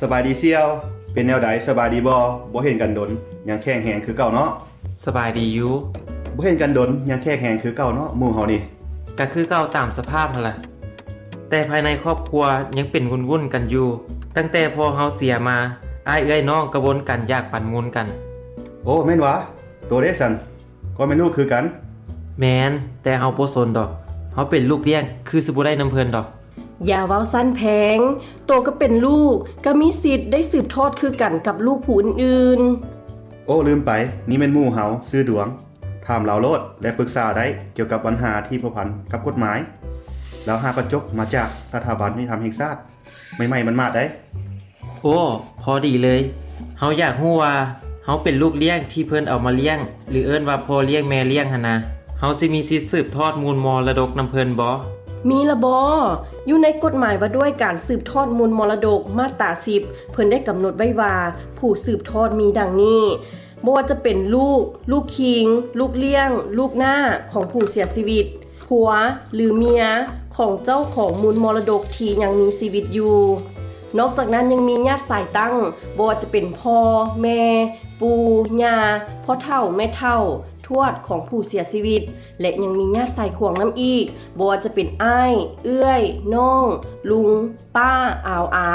ສະບາຍດີສ່ຽວ. ເປັນແນວໃດ ສະບາຍດີບໍ່? ບໍ່ເຫັນກັນດົນ ຍັງແຂງແຮງຄືເກົ່າເນາະ? ສະບາຍດີຢູ່. ບໍ່ເຫັນກັນດົນ ຍັງແຂງແຮງຄືເກົ່າເນາະ ໝູ່ເຮົານີ້. ກະຄືເກົ່າຕາມສະພາບຫັ້ນລະ. ແຕ່ພາຍໃນຄອບຄົວຍັງເປັນວຸ່ນໆກັນຢູ່. ຕັ້ງແຕ່ພໍ່ເຮົາເສຍມາ, ອ້າຍເອື້ອຍນ້ອງກະວົນກັນຢາກປັນມູນກັນ. ໂອ້ ແມ່ນຫວາ? ໂຕເດຊັ້ນ? ກໍແມ່ນລູກຄືກັນ. ແມ່ນ, ແຕ່ເຮົາບໍ່ສົນດອກ. ເຮົາເປັນລູກລ້ຽງ ຄືຊິບໍ່ໄດ້ນຳເພິ່ນດອກ. ຢ່າເວົ້າຊັ້ນແພງ. ໂຕກໍເປັນລູກ, ກໍມີສິດໄດ້ສືບທອດຄືກັນກັບລູກຜູ້ອື່ນໆ. ໂອ້ ລືມໄປ, ນີ້ແມ່ນໝູ່ເຮົາ, ຊື່ດວງ. ຖາມລາວໂລດ ແລະ ປຶກສາໄດ້ກ່ຽວກັບບັນຫາທີ່ພົວພັນກັບກົດໝາຍ. ລາວຫາກະຈົບມາຈາກສະຖາບັນຍຸຕິທຳແຫ່ງຊາດ ໃໝ່ໆໝາດໆໄດ໋. ໂອ້ ພໍດີເລີຍ. ເຮົາຢາກຮູ້ວ່າເຮົາເປັນລູກລ້ຽງທີ່ເພິ່ນເອົາມາລ້ຽງ ຫຼື ເອີ້ນວ່າພໍ່ລ້ຽງແມ່ລ້ຽງຫັ້ນນະ, ເຮົາຊິມີສິດສືບທອດມູນມໍລະດົກນຳເພິ່ນບໍ່? ມີລະບໍ? ຢູ່ໃນກົດໝາຍວ່າດ້ວຍການສືບທອດມູນມໍລະດົກ ມາດຕາສິບ ເພິ່ນໄດ້ກຳນົດໄວ້ວ່າ ຜູ້ສືບທອດມີດັ່ງນີ້. ບໍ່ວ່າຈະເປັນລູກ, ລູກຄີງ, ລູກລ້ຽງ, ລູກນ້າຂອງຜູ້ເສຍຊີວິດ, ຜົວ ຫຼື ເມຍຂອງເຈົ້າຂອງມູນມໍລະດົກທີ່ຍັງມີຊີວິດຢູ່. ນອກຈາກນັ້ນຍັງມີຍາດສາຍຕັ້ງ, ບໍ່ວ່າຈະເປັນພໍ່, ແມ່, ປູ່, ຍ່າ, ພໍ່ເຖົ້າ, ແມ່ເຖົ້າ, ທວດຂອງຜູ້ເສຍຊີວິດ ແລະ ຍັງມີຍາດສາຍຂວາງນຳອີກ, ບໍ່ວ່າຈະເປັນອ້າຍ, ເອື້ອຍ, ນ້ອງ, ລຸງ, ປ້າ, ອາວອາ,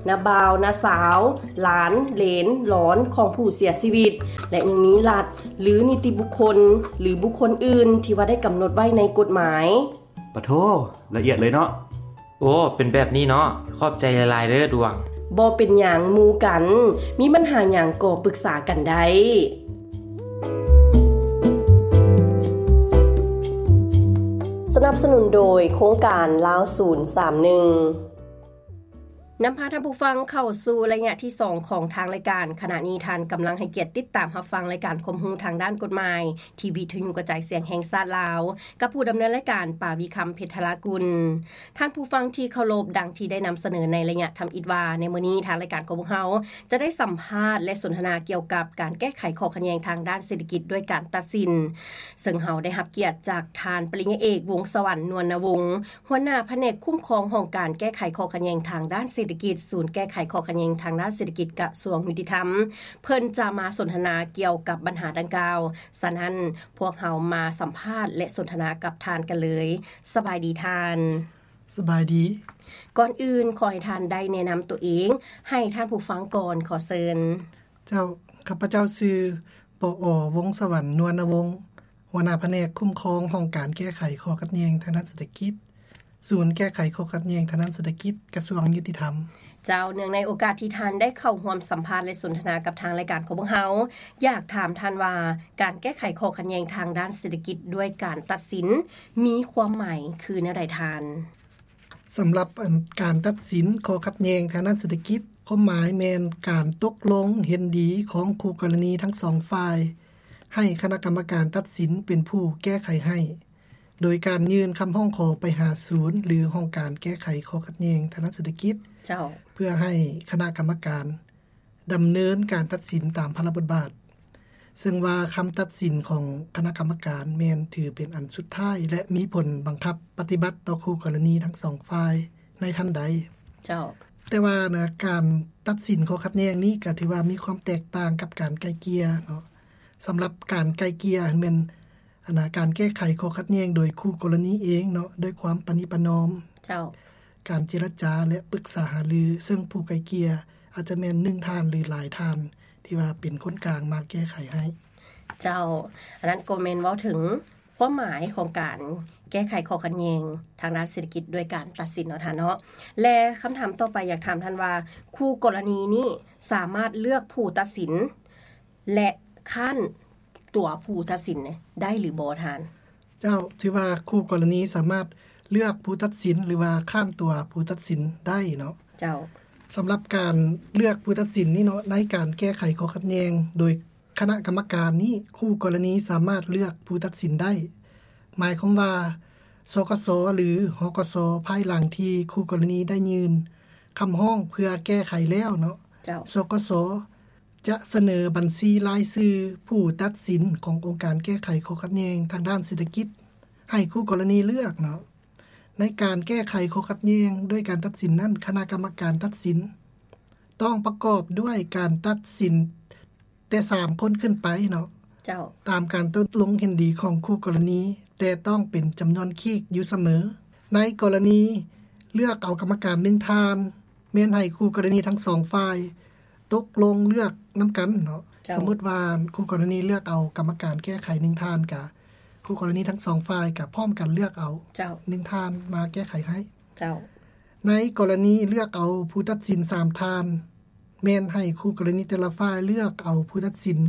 ນ້າບ່າວ, ນ້າສາວ, ຫຼານ, ເຫຼນ, ຫຼອນຂອງຜູ້ເສຍຊີວິດ ແລະ ຍັງມີລັດ ຫຼື ນິຕິບຸກຄົນ ຫຼື ບຸກຄົນອື່ນທີ່ວ່າໄດ້ກຳນົດໄວ້ໃນກົດໝາຍ. ປະໂທ, ລະອຽດເລີຍເນາະ. ໂອ້ ເປັນແບບນີ້ເນາະ. ຂອບໃຈຫຼາຍໆເດີດວງ. ບໍ່ເປັນຫຍັງໝູ່ກັນ, ມີບັນຫາຫຍັງກໍປຶກສາກັນໄດ້. ສະໜັບສະໜູນໂດຍໂຄງການລາວສູນສາມໜຶ່ງ. ນຳພາທ່ານຜູ້ຟັງເຂົ້າສູ່ໄລຍະທີສອງຂອງທາງລາຍການ. ຂະນະນີ້ທ່ານກຳລັງໃຫ້ກຽດຕິດຕາມຮັບຟັງລາຍການຄວາມຮູ້ທາງດ້ານກົດໝາຍ ທີ່ວິທະຍຸກະຈາຍສຽງແຫ່ງຊາດລາວ ກັບຜູ້ດຳເນີນລາຍການ ປາວິຄຳ ເພັດທະລາກຸນ. ທ່ານຜູ້ຟັງທີ່ເຄົາລົບ, ດັ່ງທີ່ໄດ້ນຳສະເໜີໃນໄລຍະທຳອິດວ່າ ໃນມື້ນີ້ທາງລາຍການຂອງພວກເຮົາຈະໄດ້ສຳພາດ ແລະ ສົນທະນາກ່ຽວກັບການແກ້ໄຂຂໍ້ຂັດແຍ່ງທາງດ້ານເສດຖະກິດດ້ວຍການຕັດສິນ, ເຊິ່ງເຮົາໄດ້ຮັບກຽດຈາກທ່ານປະລິນຍາເອກ ວົງສະຫວັນ ນວນນະວົງ, ຫົວໜ້າພະແນກຄຸ້ມຄອງຫ້ອງການແກ້ໄຂຂໍ້ຂັດແຍ່ງທາງດ້ານເສດຖະກິດ ສູນແກ້ໄຂຂໍ້ຂັດແຍ່ງທາງດ້ານເສດຖະກິດ ກະຊວງຍຸຕິທຳ. ເພິ່ນຈະມາສົນທະນາກ່ຽວກັບບັນຫາດັ່ງກ່າວ. ສະນັ້ນ, ພວກເຮົາມາສຳພາດ ແລະ ສົນທະນາກັບທ່ານກັນເລີຍ. ສະບາຍດີທ່ານ. ສະບາຍດີ. ກ່ອນອື່ນ, ຂໍໃຫ້ທ່ານໄດ້ແນະນຳຕົວເອງໃຫ້ທ່ານຜູ້ຟັງກ່ອນ. ຂໍເຊີນ. ເຈົ້າ, ຂ້າພະເຈົ້າຊື່ ປອ ວົງສະຫວັນ ນວນນະວົງ, ຫົວໜ້າພະແນກຄຸ້ມຄອງຫ້ອງການແກ້ໄຂຂໍ້ຂັດແຍ່ງທາງດ້ານເສດຖະກິດ, ສູນແກ້ໄຂຂໍ້ຂັດແຍ່ງທາງດ້ານເສດຖະກິດ ກະຊວງຍຸຕິທຳ. ເຈົ້າ, ເນື່ອງໃນໂອກາດທີ່ທ່ານໄດ້ເຂົ້າຮ່ວມສຳພາດ ແລະ ສົນທະນາກັບທາງລາຍການຂອງພວກເຮົາ, ຢາກຖາມທ່ານວ່າ ການແກ້ໄຂຂໍ້ຂັດແຍ່ງທາງດ້ານເສດຖະກິດດ້ວຍການຕັດສິນ ມີຄວາມໝາຍຄືແນວໃດທ່ານ? ສຳລັບ ອັນ ການຕັດສິນຂໍ້ຂັດແຍ່ງທາງດ້ານເສດຖະກິດ, ຄວາມໝາຍແມ່ນການຕົກລົງເຫັນດີຂອງຄູ່ກໍລະນີທັງສອງຝ່າຍ, ໃຫ້ຄະນະກຳມະການຕັດສິນເປັນຜູ້ແກ້ໄຂໃຫ້, ໂດຍການຍື່ນຄຳຮ້ອງຂໍໄປຫາສູນ ຫຼື ຫ້ອງການແກ້ໄຂຂໍ້ຂັດແຍ່ງທາງດ້ານເສດຖະກິດ, ເຈົ້າ. ເພື່ອໃຫ້ຄະນະກຳມະການ ດຳເນີນການຕັດສິນຕາມພາລະບົດບາດ, ເຊິ່ງວ່າຄຳຕັດສິນຂອງຄະນະກຳມະການແມ່ນຖືເປັນອັນສຸດທ້າຍ ແລະ ມີຜົນບັງຄັບປະຕິບັດຕໍ່ຄູ່ກໍລະນີທັງສອງຝ່າຍໃນທັນໃດ. ເຈົ້າ. ແຕ່ວ່ານະ ການຕັດສິນຂໍ້ຂັດແຍ່ງນີ້ກໍຖືວ່າມີຄວາມແຕກຕ່າງກັບການໄກ່ເກ່ຍເນາະ. ສຳລັບການໄກ່ເກ່ຍແມ່ນ ອັນນະ ການແກ້ໄຂຂໍ້ຂັດແຍ່ງໂດຍຄູ່ກໍລະນີເອງເນາະ ດ້ວຍຄວາມປະນີປະນອມ, ເຈົ້າ. ການເຈລະຈາ ແລະ ປຶກສາຫາລື, ເຊິ່ງຜູ້ໄກ່ເກ່ຍອາດຈະແມ່ນໜຶ່ງທ່ານ ຫຼື ຫຼາຍທ່ານ ທີ່ວ່າເປັນຄົນກາງມາແກ້ໄຂໃຫ້. ເຈົ້າ, ອັນນັ້ນກໍແມ່ນເວົ້າເຖິງຄວາມໝາຍຂອງການແກ້ໄຂຂໍ້ຂັດແຍ່ງທາງດ້ານເສດຖະກິດດ້ວຍການຕັດສິນເນາະທ່ານເນາະ. ແລະ ຄຳຖາມຕໍ່ໄປ ຢາກຖາມທ່ານວ່າ ຄູ່ກໍລະນີນີ້ສາມາດເລືອກຜູ້ຕັດສິນ ແລະ ຄ້ານຕົວຜູ້ຕັດສິນນີ້ໄດ້ຫຼືບໍ່ທ່ານ? ເຈົ້າ, ຖືວ່າຄູ່ກໍລະນີສາມາດເລືອກຜູ້ຕັດສິນ ຫຼືວ່າຄ້ານຕົວຜູ້ຕັດສິນໄດ້ເນາະ. ເຈົ້າ. ສຳລັບການເລືອກຜູ້ຕັດສິນນີ້ເນາະ, ໃນການແກ້ໄຂຂໍ້ຂັດແຍ່ງໂດຍຄະນະກຳມະການນີ້, ຄູ່ກໍລະນີສາມາດເລືອກຜູ້ຕັດສິນໄດ້. ໝາຍຄວາມວ່າ ສກສ ຫຼື ຫກສ ພາຍຫຼັງທີ່ຄູ່ກໍລະນີໄດ້ຍື່ນຄຳຮ້ອງເພື່ອແກ້ໄຂແລ້ວເນາະ, ເຈົ້າ. ສກສ ຈະສະເໜີບັນຊີລາຍຊື່ຜູ້ຕັດສິນຂອງອົງການແກ້ໄຂຂໍ້ຂັດແຍ່ງທາງດ້ານເສດຖະກິດໃຫ້ຄູ່ກໍລະນີເລືອກເນາະ. ໃນການແກ້ໄຂຂໍ້ຂັດແຍ່ງດ້ວຍການຕັດສິນນັ້ນ, ຄະນະກຳມະການຕັດສິນ ຕ້ອງປະກອບດ້ວຍການຕັດສິນແຕ່ສາມຄົນຂຶ້ນໄປເນາະ ເຈົ້າ ຕາມການຕົກລົງເຫັນດີຂອງຄູ່ກໍລະນີ, ແຕ່ຕ້ອງເປັນຈຳນວນຄີກຢູ່ສະເໝີ. ໃນກໍລະນີເລືອກເອົາກຳມະການໜຶ່ງທ່ານ ແມ່ນໃຫ້ຄູ່ກໍລະນີທັງສອງຝ່າຍຕົກລົງເລືອກນຳກັນເນາະ. ເຈົ້າ ສົມມຸດວ່າຄູ່ກໍລະນີເລືອກເອົາກຳມະການແກ້ໄຂໜຶ່ງທ່ານ ກະຄູ່ກໍລະນີທັງສອງຝ່າຍກະພ້ອມກັນເລືອກເອົາ ເຈົ້າ ໜຶ່ງທ່ານມາແກ້ໄຂໃຫ້. ເຈົ້າ ໃນກໍລະນີເລືອກເອົາຜູ້ຕັດສິນສາມທ່ານ ແມ່ນໃຫ້ຄູ່ກໍລະນີແຕ່ລະຝ່າຍເລືອກເອົາຜູ້ຕັດສິນ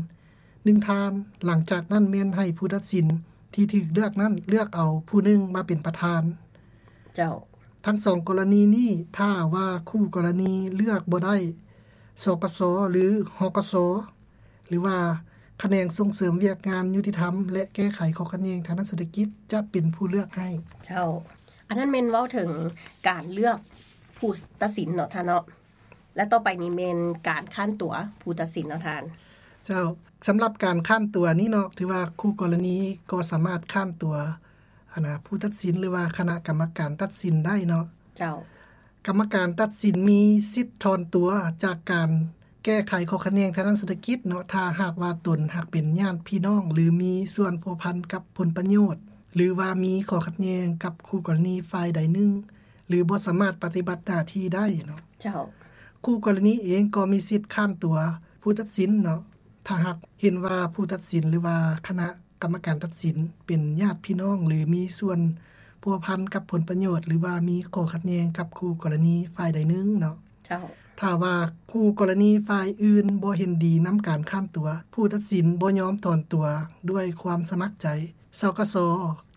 ໜຶ່ງທ່ານ, ຫຼັງຈາກນັ້ນແມ່ນໃຫ້ຜູ້ຕັດສິນທີ່ຖືກເລືອກນັ້ນເລືອກເອົາຜູ້ໜຶ່ງມາເປັນປະທານ. ເຈົ້າ ທັງສອງກໍລະນີນີ້ ຖ້າວ່າຄູ່ກໍລະນີເລືອກບໍ່ໄດ້ ສກສ ຫຼື ຫກສ ຫຼືວ່າຂະແໜງສົ່ງເສີມວຽກງານຍຸຕິທຳ ແລະ ແກ້ໄຂຂໍ້ຂັດແຍ່ງທາງດ້ານເສດຖະກິດ ຈະເປັນຜູ້ເລືອກໃຫ້. ເຈົ້າ ອັນນັ້ນແມ່ນເວົ້າເຖິງການເລືອກຜູ້ຕັດສິນເນາະທ່ານເນາະ. ແລະ ຕໍ່ໄປນີ້ແມ່ນການຄ້ານຕົວຜູ້ຕັດສິນເນາະທ່ານ. ເຈົ້າ ສຳລັບການຄ້ານຕົວນີ້ເນາະ ຖືວ່າຄູ່ກໍລະນີກໍສາມາດຄ້ານຕົວ ອັນນະ ຜູ້ຕັດສິນ ຫຼືວ່າຄະນະກຳມະການຕັດສິນໄດ້ເນາະ. ເຈົ້າ ກຳມະການຕັດສິນມີສິດຖອນຕົວຈາກການແກ້ໄຂຂໍ້ຂັດແຍ່ງທາງດ້ານເສດຖະກິດເນາະ ຖ້າຫາກວ່າຕົນຫາກເປັນຍາດພີ່ນ້ອງ ຫຼື ມີສ່ວນພົວພັນກັບຜົນປະໂຫຍດ ຫຼືວ່າມີຂໍ້ຂັດແຍ່ງກັບຄູ່ກໍລະນີຝ່າຍໃດໜຶ່ງ ຫຼື ບໍ່ສາມາດປະຕິບັດໜ້າທີ່ໄດ້ເນາະ. ເຈົ້າ ຄູ່ກໍລະນີເອງກໍມີສິດຄ້ານຕົວຜູ້ຕັດສິນເນາະ ຖ້າຫາກເຫັນວ່າຜູ້ຕັດສິນ ຫຼືວ່າຄະນະກຳມະການຕັດສິນເປັນຍາດພີ່ນ້ອງ ຫຼື ມີສ່ວນພົວພັນກັບຜົນປະໂຫຍດ ຫຼືວ່າມີຂໍ້ຂັດແຍ່ງກັບຄູ່ກໍລະນີຝ່າຍໃດໜຶ່ງເນາະ. ເຈົ້າ ຖ້າວ່າຄູ່ກໍລະນີຝ່າຍອື່ນບໍ່ເຫັນດີນຳການຄ້ານຕົວ, ຜູ້ຕັດສິນບໍ່ຍອມຖອນຕົວດ້ວຍຄວາມສະໝັກໃຈ, ສກສ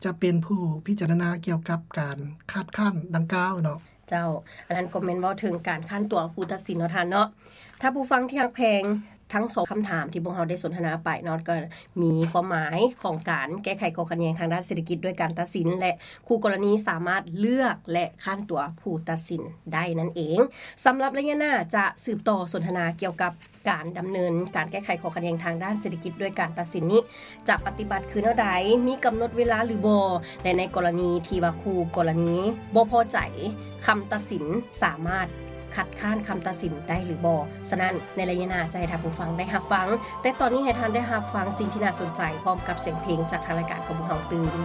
ຈະເປັນຜູ້ພິຈາລະນາກ່ຽວກັບການຄັດຄ້ານດັ່ງກ່າວເນາະ. ເຈົ້າ ອັນນັ້ນກໍແມ່ນເວົ້າເຖິງການຄ້ານຕົວຜູ້ຕັດສິນເນາະທ່ານເນາະ. ທ່ານຜູ້ຟັງທີ່ຮັກແພງ, ທັງສອງຄຳຖາມທີ່ພວກເຮົາໄດ້ສົນທະນາໄປເນາະ ກໍມີຄວາມໝາຍຂອງການແກ້ໄຂຂໍ້ຂັດແຍ່ງທາງດ້ານເສດຖະກິດດ້ວຍການຕັດສິນ ແລະ ຄູ່ກໍລະນີສາມາດເລືອກ ແລະ ຄ້ານຕົວຜູ້ຕັດສິນໄດ້ນັ້ນເອງ. ສຳລັບໄລຍະໜ້າຈະສືບຕໍ່ສົນທະນາກ່ຽວກັບ ການດຳເນີນການແກ້ໄຂຂໍ້ຂັດແຍ່ງທາງດ້ານເສດຖະກິດດ້ວຍການຕັດສິນນີ້ ຈະປະຕິບັດຄືແນວໃດ, ມີກຳນົດເວລາຫຼືບໍ່ ແລະ ໃນກໍລະນີທີ່ວ່າຄູ່ກໍລະນີບໍ່ພໍໃຈຄຳຕັດສິນ ສາມາດຄັດຄ້ານຄຳຕັດສິນໄດ້ຫຼືບໍ່. ສະນັ້ນ ໃນໄລຍະໜ້າຈະໃຫ້ທ່ານຜູ້ຟັງໄດ້ຮັບຟັງ, ແຕ່ຕອນນີ້ໃຫ້ທ່ານໄດ້ຮັບຟັງສິ່ງທີ່ໜ້າສົນໃຈ ພ້ອມກັບສຽງເພງຈາກທາງລາຍການຂອງພວກເຮົາຕື່ມ.